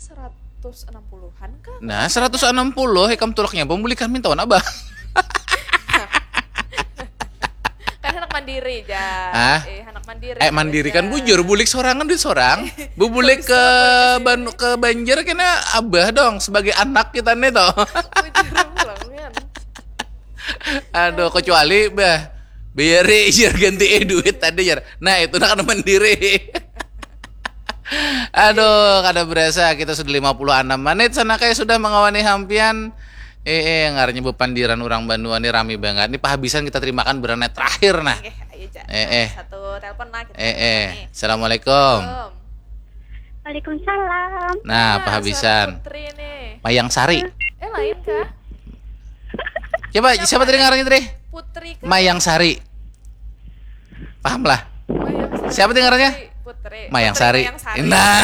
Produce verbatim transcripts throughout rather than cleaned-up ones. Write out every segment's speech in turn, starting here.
Seratus enam puluhan kah? Nah, seratus enam puluh ikam tulaknya pun bulik kami tahun abah. Kan anak mandiri ja. Hah? Eh, anak mandiri. Eh, mandiri kan bujur, bulik sorangan duit sorang. Bubulik ke Ban ke Banjar kena abah dong sebagai anak kita nih toh. Bujur pulang kan. Aduh, kecuali bah biari jar ganti eh duit tadi jar. Nah, itu nak mandiri. Aduh, kada berasa kita sudah lima puluh enam menit sana kayak sudah mengawani hampian. Eh, eh, ngarnya bepandiran orang Banua nih rame banget. Ini pahabisan kita terimakan berana terakhir nah. Oke, ayo, eh, eh. Satu telepon lah kita. Eh, eh. Assalamualaikum. Waalaikumsalam. Nah, nah pahabisan. Putri nih. Mayang Sari. Eh, lain kah? Coba siapa, siapa tadi ngarannya tadi? Putri kah? Mayang Sari. Paham lah. Siapa dengarannya? Putri. Mayang Sari. Nah.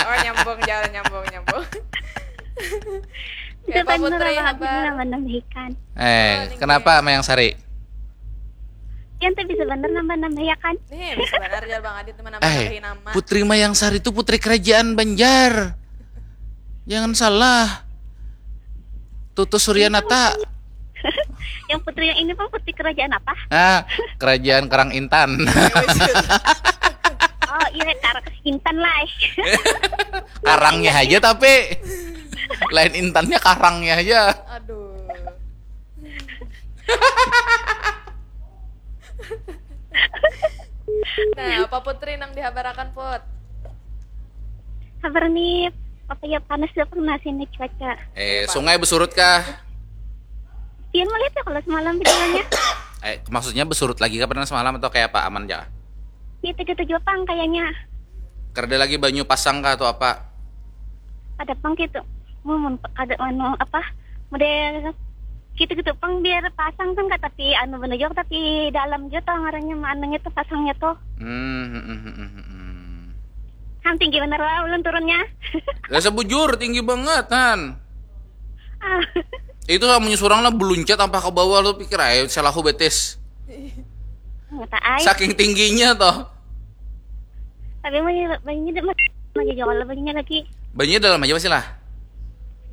Oh, nyambung jalan, nyambung, nyambung. Itu kan Putri habar. Eh, kenapa Mayang Sari? Yang tuh bisa bener nambah-nambah ya kan? Nih, bisa bener ya Bang Adit menambahi eh, nama. Putri Mayang Sari itu putri kerajaan Banjar. Jangan salah. Tutus Suryanata. Yang putri yang ini pang putri kerajaan apa? Ah, kerajaan Karang Intan. Oh iya, Karang Intan lah. Karangnya aja tapi lain intannya, karangnya aja. Aduh. Nah, apa Putri nang dihabarakan, Put? Kabar nih, apa ya, panas juga pernah sini cuaca. Eh, sungai besurut kah? Dia melihat ya kalau semalam bicaranya. Eh, maksudnya besurut lagi kah pernah semalam atau kayak apa, aman ya? Itu gitu juga pang kayaknya. Kerja lagi banyu pasang kah atau apa? Ada pang gitu. Mau kada anu apa? Model gitu-gitu pang biar pasang kan kata tapi anu bener juga tapi dalam juga tuh ngarannya anaknya tuh pasangnya tuh. Hmm, hmm, hmm, hmm, hmm. Kan tinggi bener lah ulun turunnya. Lah sebujur tinggi banget kan. Ah. Itu lah menyusurang lah beluncat apa ke bawah lo pikir aja selahu betis. Saking tingginya toh. Tapi banyak banyak aja kalau banyak lagi. Banyak dalam aja masih lah.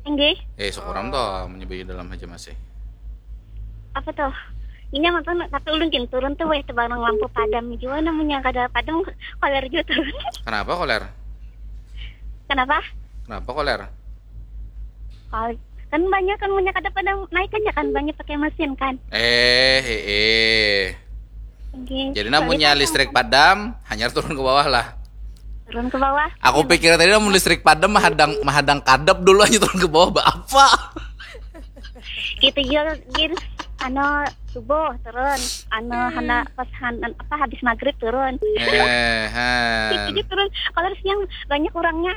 Enggak. Eh, sekurang oh. Toh menyebutnya dalam aja masih. Apa toh? Ini nonton tapi ulun gin turun tuh weh tebarang lampu padam juga namanya kada padam koler juga turun. Kenapa koler? Kenapa? Kenapa koler? Koler kan banyak kan punya kada pada naik aja kan banyak pakai mesin kan. Eh, eh, eh. Okay. Jadi namunnya listrik padam, hanya turun ke bawah lah. Turun ke bawah. Aku pikir tadi namun listrik padam mahadang mahadang kadep dulu aja turun ke bawah apa? Gitu juga gin anu subuh turun anu hmm. Hana pas han, apa habis maghrib turun eh han. Gitu turun kalau siang banyak orangnya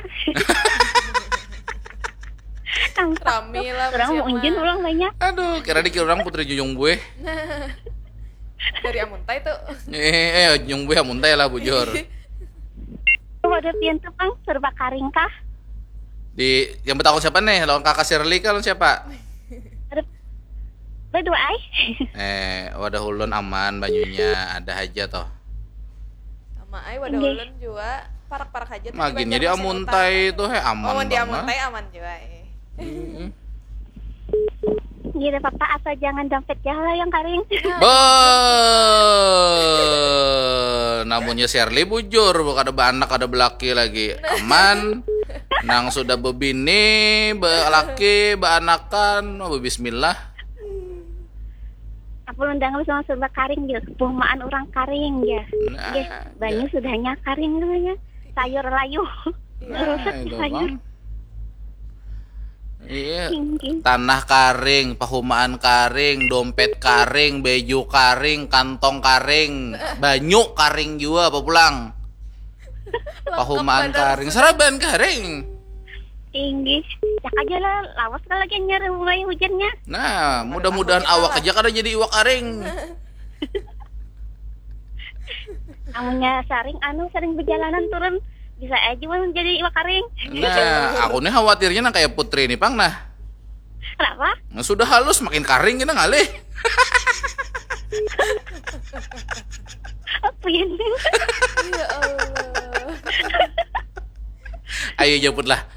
rame lah orang mau unjun orang banyak aduh kira dikira orang putri jujung gue dari amuntai tuh eh eh jujung gue amuntai lah bujur wadah pian tuh pang serba karing kah di yang bertakut siapa nih lawan kakak Shirley kan siapa Berdua ai. Eh, wadah ulun aman banyunya ada aja toh. Sama ai wadah ulun juga parak-parak aja. Makin jadi amuntai itu he aman. Oh, di amuntai aman juga eh. Gila papa asal jangan dompet ya lah yang karing. Be, namunnya Sherly bujur, bukan ada anak ada belaki lagi. Aman. Nang sudah bebini, belaki, beanakan, oh, bismillah. Apa undang lu sama serba karing ya? Bumaan orang karing ya. Nah, ya, banyak ya. Sudahnya karing namanya. Sayur layu. Nah, itu sayur. Bang. Iya, tanah karing, pahumaan karing, dompet karing, beju karing, kantong karing, banyu karing juga apa pulang. Pahumaan karing, saraban karing. Tinggi. Cak aja lah, lawas kalau lagi nyari mulai hujannya. Nah, mudah-mudahan awak aja kada jadi iwak karing. Amunnya saring anu sering berjalanan turun bisa aja mun jadi iwak karing. Nah, aku nih khawatirnya nang kayak Putri nih pang nah. Kenapa? Nah, sudah halus makin karing kita ngalih. Apa ini? Ya Allah. Ayo jemputlah.